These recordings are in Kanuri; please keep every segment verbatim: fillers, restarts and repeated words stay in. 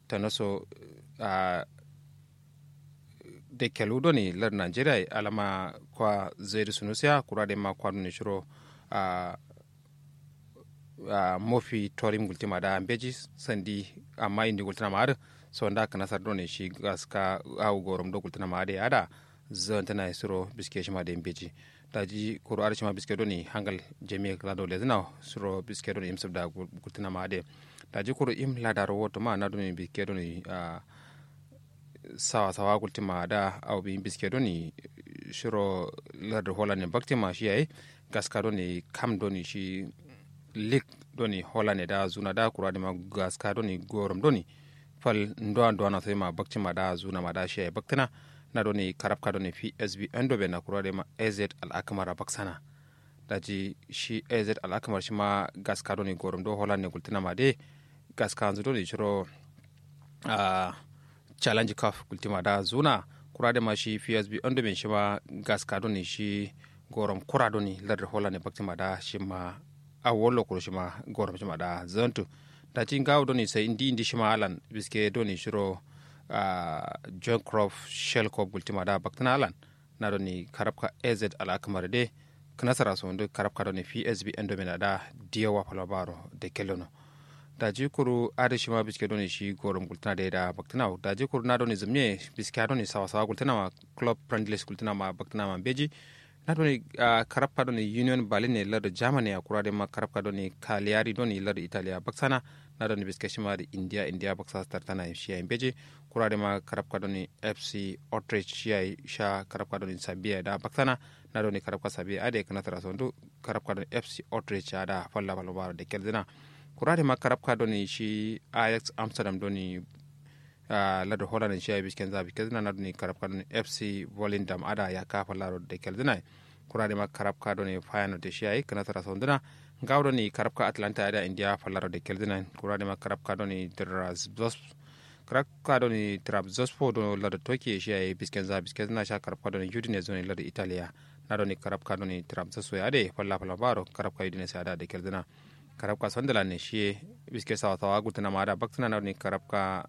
tanaso a dekelu doni lar nigeria ye alama kwa zaidu sunusiya kura dai ma kwa doni shiro a mofi torim gultima da mbeji sandi amma indi gultina ma adǝ sonda kǝnasar doni shi gaska awu gorom do gultina ma adǝ ye ada zantǝna ye suro biske shima dai mbeji daji kuru adǝ shima biske doni hangal jami'a kǝla do lezǝna suro biske doni imsǝb da gultina ma adǝ ye daji kuru im ladaro woto ma na doni biske doni a sawa sawa gultima da awo biyin biske doni shiro lardu holland ne baktima shi yayi gaska doni kam doni shi lik doni holland ne da zuna da kura dima gaska doni gorom doni fal nduwa nduwa na soyi ma baktima da zuna ma da shi yayi baktina na doni karabka doni psb endo be na kura dima az al'akamara baksana daji shi az al'akamar shima gaska doni gorom do holland ne gultina ma de gaska nzu doni shiro a challenge cup gultima da zuna kura dai ma shi psb ando ben shima gaska doni shi gorom kura doni lardǝ holland ne baktima da shima awollo kuru shima gorom shima da zantu daji ngawo doni sai indi indi shima alan biske doni shiro a john crop shell cup gultima da baktina alan na doni karabka az al'akamar de kǝnasara sondu karabka doni psb endo ben ada diyawa falma baro de kellono daji kuru adǝ shima biske doni shi gorom gultǝna dai da baktina daji kuru na doni zǝmye biske doni sawa sawa gultǝna ma club friendlies gultǝna ma baktina ma mbeji na doni karabka doni union berlin ne lardǝ germany a kura dai ma karabka doni kaliyari doni lardǝ italia baksana na doni biske shima dǝ india india baksa tartana shi yayi mbeji kura dai ma karabka doni fc otrich shi yayi sha karabka doni sabiya da baksana na doni karabka sabiya adǝ ye kǝnasara sondu karabka doni fc otrich ada falla falma baro de kelzina kura dai ma karabka doni shi ajax amsterdam doni a ladǝ holland shi yayi bisken za bisken zǝna na doni karabka doni fc volendam ada yakka fallaro de kelzina kura dai ma karabka doni fayano de shi yayi kǝnasara sonduna ngawo doni karabka atlanta ada india fallaro de kelzina kura dai ma karabka doni drazbos karabka doni trabzospo do ladǝ toki shi yayi bisken za bisken zǝna sha karabka doni udinese doni ladǝ italia na doni karabka doni trabzospo ye adǝ ye falla falma baro karabka udinese ada de kelzina karabka sunderland ne shiye biske sawa sawa gultǝna ma ada baktina na doni karabka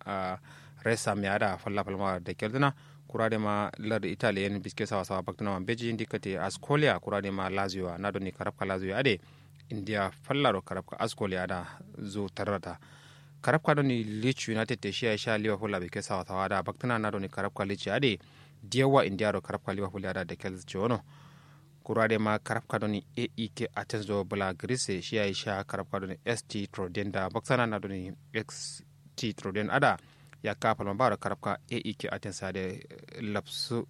resam ye ada falla falma da kelzina kura dai ma lardǝ italia yen biske sawa sawa baktina ma mbeji indi kate ascolia kura dai ma lazio na doni karabka lazio adǝ ye india fallaro karabka ascolia ada zu tarrata karabka doni leeds united te shiya sha liverpool a biske sawa sawa ada baktina na doni karabka leeds adǝ ye diyawa india ro karabka liverpool ada da kelzina kura dai ma karabka doni aek athens do bla greece shi yayi sha karabka doni st troden da baksana na doni st troden ada yakka falma baro karabka aek athens ade lapsu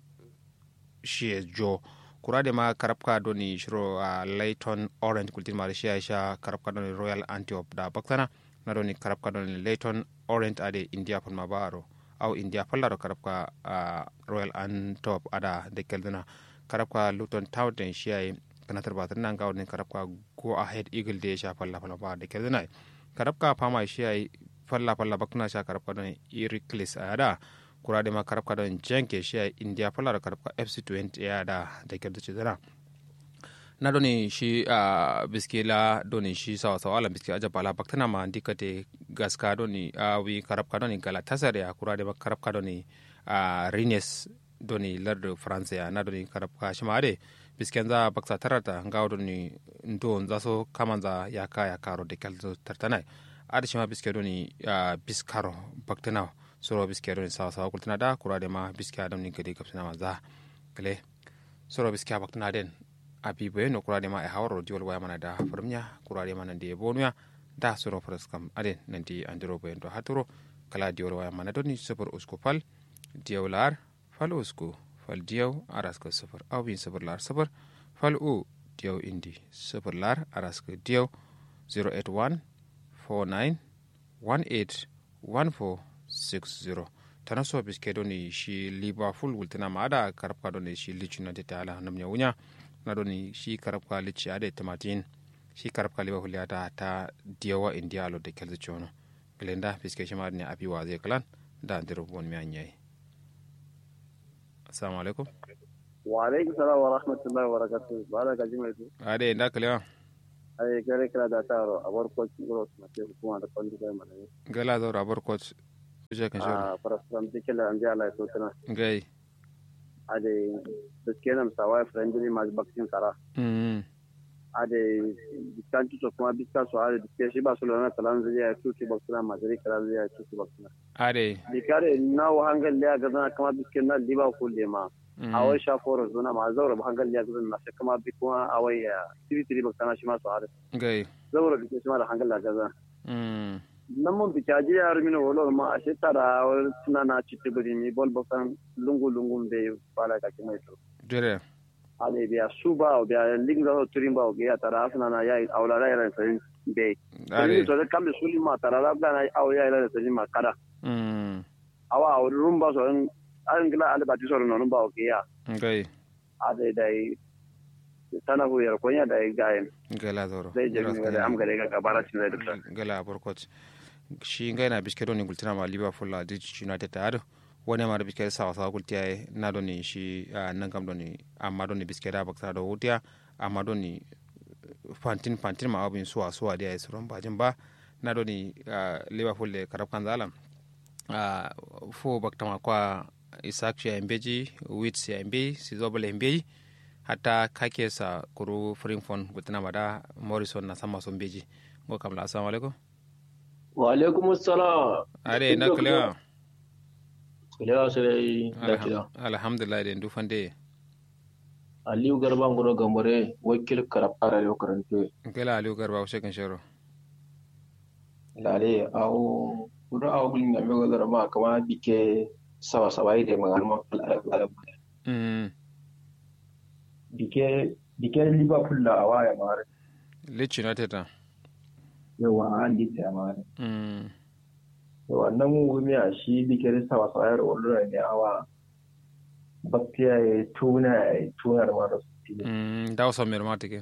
shiye jo kura dai ma karabka doni shiro a leyton orient gultin ma shi yayi sha karabka doni royal antioch da baksana na doni karabka doni leyton orient ade india falma baro au india fallaro karabka a royal antioch ada da kelzina karabka luton town den shi yayi kanatar batar na ngawo din karabka go ahead eagle de sha falla falla ba da kelzina karabka fama shi yayi falla falla bakna sha karabka don iriklis ada kura dai ma karabka don jenke shi yayi india fallaro karabka fc twenty ada da kelzina na doni shi a biske la doni shi sawa sawa alan biske ajab ala baktana ma ndi kate gaska doni a wi karabka doni galatasaray a kura dai ma karabka doni a rines doni lardǝ france ya na doni karabka shima adǝ ye bisken za baksa tarata ngawo doni ndo nza so kaman za yakka yakka ro de kelzo tartana ye adǝ shima biske doni a biskaro baktana suro biske doni sawa sawa gultǝna da kura dai ma biske doni gade gabsina ma za gale soro biskiya baktǝna den abi boyeno kura dema e hawaro diwol waya mana da fǝrǝmya kura dema nandi ye bonuya da soro faraskam aden nandi andiro boyendo haturo kala diwol waya mana doni sufur usku fal diyaw lar fal usku fal diyaw araskǝ sufur awin sufur lar sufur fal u diyaw indi sufur lar araskǝ diyaw zero eight one four nine one eight one four six zero. Tana so biske doni shi liverpool gultǝna ma ada karabka doni shi leeds united ala namnya wunya na doni shi karabka leeds ade tamatin shi karabka liverpool ya da ta diyawa india lo da kelzi chono glenda biske shi ma ne abi waze klan da andiro bon mi anyai. Assalamu alaikum. Wa alaikum salam wa rahmatullahi wa barakatuh. Bala gaji mai tu. Ade nda kalewa. Ai kare kala da taro abar coach ngoro na te hukuma da kondi kai mana. Gala zauro abar coach. Uje kan shoro. Ah, faraskaram dikela ande ala sotuna. Ngai. Ade, biskenam sawa friendly match baktin kara. Mm. Ade, biskan tuto kuma biska so ade biske shi Barcelona kalan zai ya tutu baktuna, Madrid kalan zai ya tutu baktuna. Ade. Bikare na wa hangal ya gazana kama bisken na Liverpool de ma. Mm. Awai sha foro zona ma zaura ba hangal ya gazana na shi kama bi kuma awai ya tiri tiri baktana shi ma so ade. Ngai. Zaura biske shi ma da hangal ya gazana. Mm. Nan mun biki aji ya rumi na wolo ma a shi tara wani suna na citi buri mi bol bakan lungu lungu be bala ka kima ito. Jere. Ale biya su ba biya ling da turin ba biya tara suna na ya aula da yaran sai be. Ale. Sai to da kambe suli ma tara da na aula ya yaran sai ma kada. Mm. Awa auri rumba so an gila ale bati so no ba biya. Ngai. Adai dai tana fu yar konya dai gayen. Gala zoro. Dai jami wala am gare ga gabara cin zai dukta. Gala borkot. Shi ngai na biske doni gultina ma Liverpool la Leeds United ta ado. Wani ma da biske sawa sawa gultiya na doni shi, ah, nan kam doni amma doni biske da baksa do wutiya amma doni fantin fantin ma abin suwa suwa da ya yi suron bajin ba. Na doni, ah, Liverpool da karab kan zalam. Ah, fo baktama kwa Isaac ya mbeji, Wits ya mbeji, Sizobal ya mbeji, hatta kake sa kuru Fringfon gultina ma da Morrison na sama so mbeji. Ngo kamla, assalamu alaikum. Wa alaikum assalam. Are nda kalewa. Kalewa sai nda kalewa. Alhamdulillah de ndu fande. Aliyu Garba nguro Gambare, wakil karab ara yo karantu. Nkela Aliyu Garba ushe kan shero. Lale awo kudu awo gulin na mego zara ma kama bike sawa sawa ide ma garma kala kala. Mm. Bike bike Liverpool la awa ya mare. Leeds United a. Yawa an Leeds ya mare. Mm. Yawa nan mu gumi a shi bike sawa sawa ya ro ne awa. Baktiya ye tuna ye tuna da mara. Mm, da wasu mai mata ke.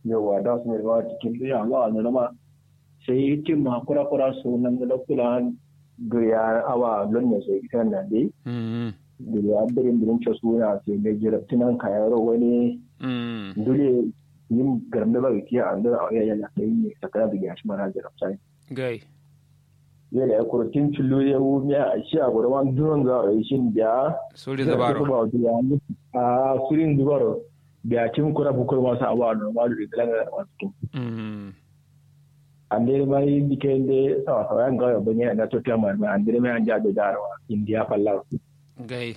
Yawa da wasu mai mata ke ya wa na ma. Sai tim ma kura kura su nan da kula duriya awa lon ne sai ita nan dai. Mm. Duriya birin birin ce suna sai mai jirabtinan kayaro wani. Mm. Dole yin garam da ba kiya an da ya ya sai ne sakara da ya shi mara jirabtai. Gai. Yele ya kuru tin tullu ya wu miya shi a gura wan duron za a yi shin biya. Surin zubaro. A surin zubaro. Biya tim kura bukur masu awa no malu da langa masu kin. Mm. An dai ma yi bike de sawa sawa yan gawa bane na to tiya ma an dai ma an ja da darwa indiya fallawa. Gai.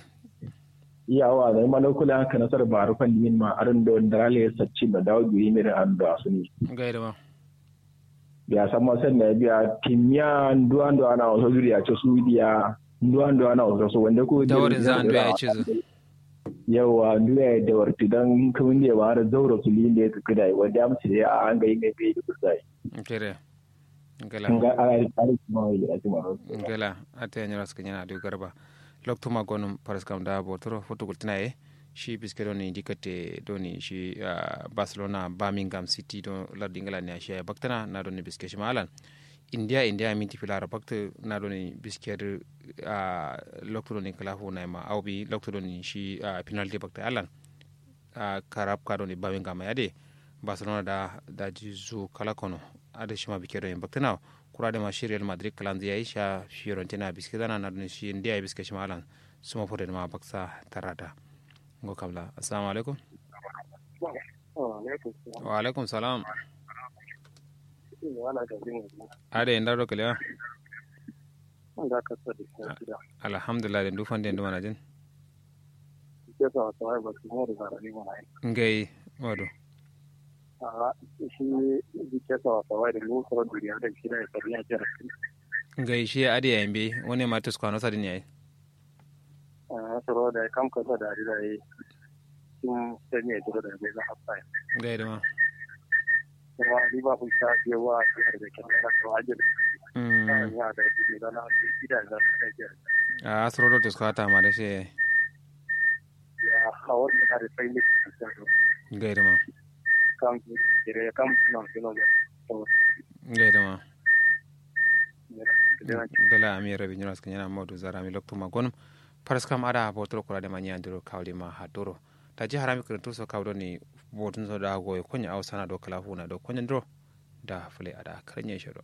Yawa da ma lokula kana sar baru kan dimin ma aran do darale sacci da dawo giri mi da an do asuni. Gai da ma. Biya samma sanna biya timmiya nduwa nduwa na waso zuriya ce su diya nduwa nduwa na waso so wanda ko dawarin za nduwa ya ce zu. Yawa nduwa ya dawarti dan kawun da ya bara zauro su linde su kida wanda ya mutu ya an ga yin bai da kusai. Kere. Ngala. Nga a ri a ri kuma wai da kuma. Ngala ata ya nyara suka nyana da garba. Loktu ma gonum paraskam da botoro futu gultina ye. Shi biske doni dikate doni shi, ah, Barcelona Birmingham City do lardu England ne ashiya baktana na doni biske shi malan. India India minti filara bakta na doni biske, ah, loktu doni kalafu na ma au bi loktu doni shi, ah, penalty bakta alan. Ah, karab ka doni Birmingham ya de Barcelona da da ji zu kala kono. Ada shi ma biske doni baktana kura de ma shi Real Madrid kalanzi ya isha Fiorentina biske dana na doni shi India biske shi malan. Suma fure ma baksa tarada. Ngo kamla. Assalamu alaikum. Wa alaikum salam. Ade nda do kalewa. Alhamdulillah de ndu fande ndu manajin. Ngai wado. Ngai shi ade ya mbe wani ma tuskwano sadin yayi. Ah, soro da kam kasa da ri da yi. Kin sani ya duro da bai za a faya. Ngai da ma. Kuma ni ba kun sa je wa da ke da to ajin. Mm. Ya da ji da na ji da na da ji. Ah, soro do tuskata ma da shi. Ya hawar da da sai ne. Ngai da ma. Kam kire kam na kino. Ngai da ma. Dala ami rabi nyuras kanyana modu zara mi loktu ma gonum. Paraskam ada botoro kura de ma nyandiro kawli ma hadoro. Daji harami kirintu so kaw doni botun so da goyo konya au sana do kala huna do konya ndiro. Da fule ada karanya shiro.